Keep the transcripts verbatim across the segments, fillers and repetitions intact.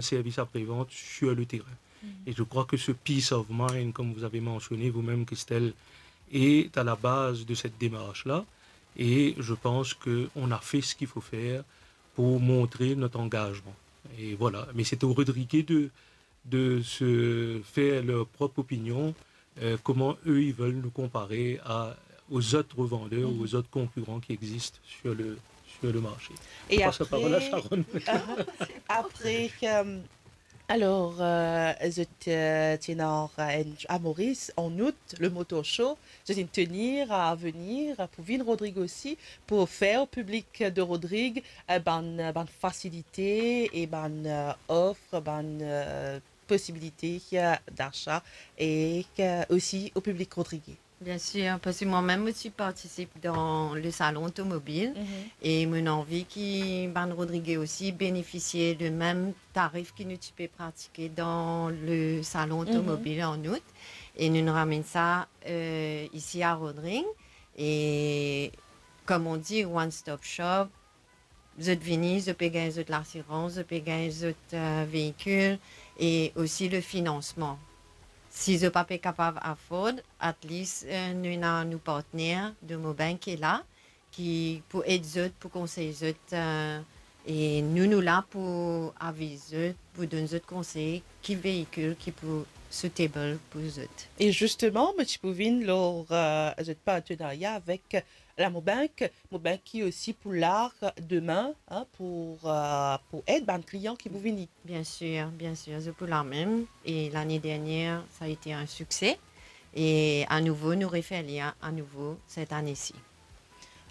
service après-vente sur le terrain. Mhm. Et je crois que ce peace of mind, comme vous avez mentionné vous-même, Christelle, est à la base de cette démarche-là. Et je pense qu'on a fait ce qu'il faut faire pour montrer notre engagement. Et voilà. Mais c'est aux Rodriguais de, de se faire leur propre opinion, euh, comment eux, ils veulent nous comparer à, aux autres vendeurs, mhm, aux autres concurrents qui existent sur le, sur le marché. E apre, Sharon. Apre, euh, alor, euh, zot, euh, ti ena, euh, enn, a Moris, an out, le Motor Show, zot inn tenir a venir pou vinn Rodrig osi, pou ofer o piblik de Rodrig, euh, bann, bann fasilite e bann, euh, ofer, bann, euh, posibilite, euh, dasa e, euh, osi o piblik rodrigé. Bien sûr, parce que moi-même aussi participe dans le salon automobile, mhm, et mon envie ki bann Rodriguais aussi bénéficient de même tarif ki nou ti pe pratike dans le salon, mhm, automobile en août. Et nous nous ramène ça, euh, ici à Rodrigues. Et comme on dit, one stop shop, zot vini, zot pe gagn zot lasirans, zot pe gagn zot, euh, veikil e osi le finansman. Si zot pa pe kapav afford, at least, euh, nou ena nou partner de Mobank ki la, ki pou ed zot, pou konsey zot, euh, e nou, nou la pou aviz zot, pou donn zot konsey ki veikil ki pou suitable pou zot. E zisteman, mo ti pou vinn lor, euh, zot partenarya avek la Mobank, Mobank ki osi pou la demin, hein, pou, euh, pou ed bann klian ki pou vini. Bien sûr, bien sûr, zot pou la mem. Et l'année dernière, ça a été un succès. Et à nouveau, nou refer li a, à nouveau cette année-ci.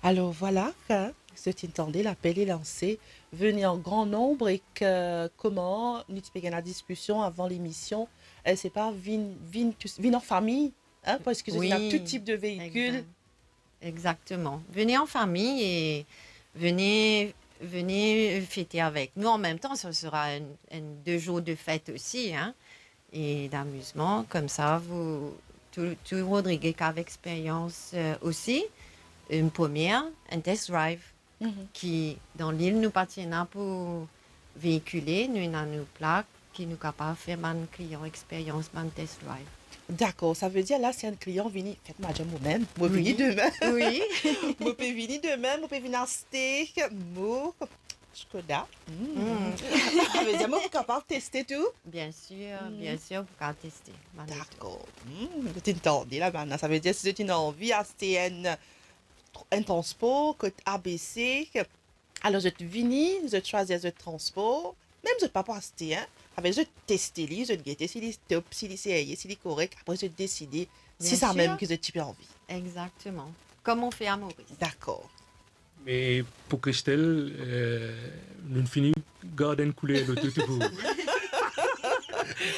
Alor, vwala, hein, zot inn tande, lapel est lansé. Vini an gran nonb e ki, kouma nou ti pe gagn la diskision avan lemision, euh, se pa vinn, vinn tou, vinn an fami, hein, parski zot ena, oui, tou tip de veikil. Exact. Exactement. Venez en famille et venez, venez fêter avec nous. En même temps, ce sera un, un deux jours de fête aussi, hein, et d'amusement. Comme ça, vous, tout, tout Rodriguais qui a l'expérience, euh, aussi, une première, un test drive. Mhm. Ki dan lil nou pa ti ena pou veikile, nou ena nou plak ki nou kapav fer bann klian experyans, bann test drive. Dakor, savedir la si enn klian vini, fet, mo dir mwa mem, mo vini demin. Wi. Mo pe vini demin, mo pe vinn aste mo Skoda. Mm. Mm. Savedir mo pou kapav teste tou? Bien sûr, bien sûr, pou kapav teste. Dakor. Mm, zot inn tande la bann la. Savedir si zot inn anvi aste enn enn transpor kot A B C. Alor, zot vini, zot swazir zot transpor. Mem zot pa pou aste, hein. Savedir zot teste li, zot gete si li top, si li serye, si li korek. Apre, zot deside si sa mem ki zot ti pe anvi. Exactement. Comme on fait à Maurice. Dakor. Me pou Christelle, euh, nou fini gard enn kouler loto tou pou ou.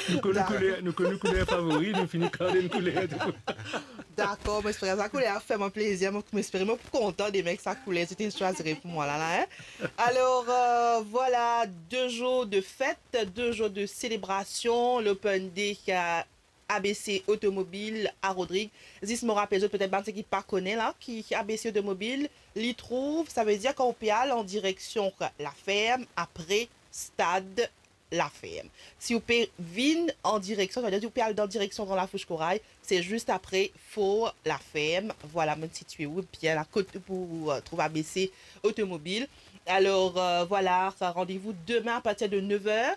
Nou konn nou kouler, nou konn nou kouler favori, nou fini gard enn kouler tou pou ou. Dakor, mo espere sa kouler la fer mwa plezir. Mo, mo espere mo pou kontan demin ek sa kouler zot inn swazir pou mwa la, la, hein. Alor, euh, vwala, de zour de fet, de zour de selebrasion, l'Open Day, euh, A B C Automobile à Rodrigues. Zis mo rapel zot, petet bann seki pa kone la, ki, ki A B C Automobile, li trouv, savedir kan ou pe al an direksion Laferm, apre Stad Laferm. Si ou pe vinn an direksion, savedir si ou pe al dan direksion Gran Lafous Koray, se zis apre For Laferm. Vwala, mo sitye ou bien la kot pou, euh, trouv A B C Automobile. Alor, euh, vwala, sa randevou demin apartir de nev er.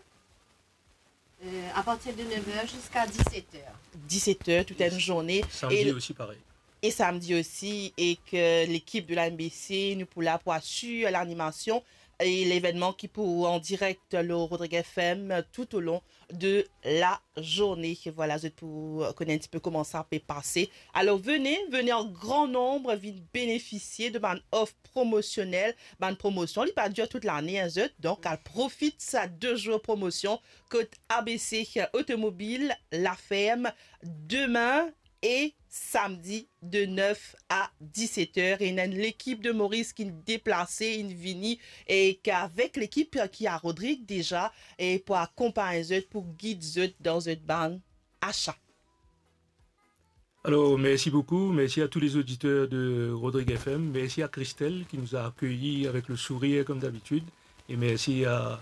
Euh, à partir de nev er ziska diset er. Diset er, tout enn zourne. Samdi osi, parey. E samdi osi, ek lekip de la M B C, nou pou la pou asir lanimasion e levennman ki pou an direk lor Rodrigues F M tout au long de la journée. Vwala, zot pou kone enn tipe kouma sa pe pase. Alor, vene, vene an gran nonb, vinn benefisie de bann of promosionel, bann promosion, li pa dir tout lane, hein, zot. Donk, al profit sa de zour promosion kot A B C Automobile Laferm demin e samdi de nev a diset er. E ena enn lekip de Moris ki deplase, inn vini, e ki avek lekip ki a Rodrigues deza, e pou akonpagn zot, pou gid zot dan zot bann asa. Alors, merci beaucoup. Merci à tous les auditeurs de Rodrigues F M. Merci à Christelle qui nous a accueillis avec le sourire comme d'habitude. Et merci à,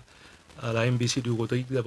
à la M B C de Rodrigue d'avoir